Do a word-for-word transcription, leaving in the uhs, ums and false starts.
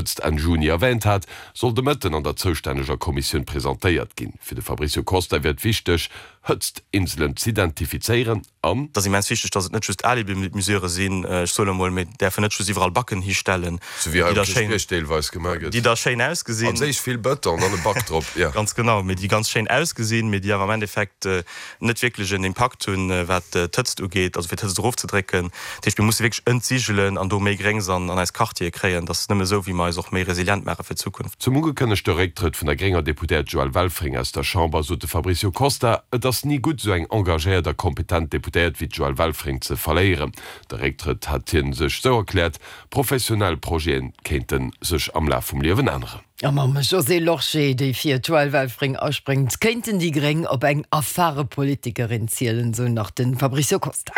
Hëtzt Enn Juni erwäänt hat, soll de Mëtten an der zoustänneger Kommissioun presentéiert ginn. Fir de Fabricio Costa wier et wichteg, Hëtztinselen z'identifizéieren an. Et ass immens wichteg, dass et net just Alibi-Mesurë sinn. Ech soen emol, mir däerfen net just iwwerall Backen histellen, Sou wéi hei um Kierchbierg deelweis gemaach gëtt. déi da schéin ausgesinn. Als éischt vill Bëton, dann e Back drop, jo. Ganz genau, mee déi ganz schéin ausgesinn, mee déi awer am Endeffekt net wierklech en Impakt hunn, wat d'Hëtzt ugeet, also fir d'Hëtzt erofzedrécken. Dat heescht, mir musse wierklech entsigelen an do méi Gréngs an eis Quartiere kréien. Dat ass nëmme esou, wéi mer eis och méi resilient maache fir d'Zukunft. Zum ugekënnegte Récktrëtt vun der grénger Deputéiert Joëlle Welfring aus der Chamber sot de Fabricio Costa, Et ass ni gutt, esou eng engagéiert a kompetent Deputéiert wéi d'Joëlle Welfring ze verléieren. De Récktrëtt hätt hie sech sou erkläert, professionell Projete kéinte sech am Laf vum Liewen änneren. A mam Josée Lorsché, déi fir d'Joëlle Welfring aspréngt, kéinten déi Gréng op eng erfare Politikerin zielen, sou nach de Fabricio Costa.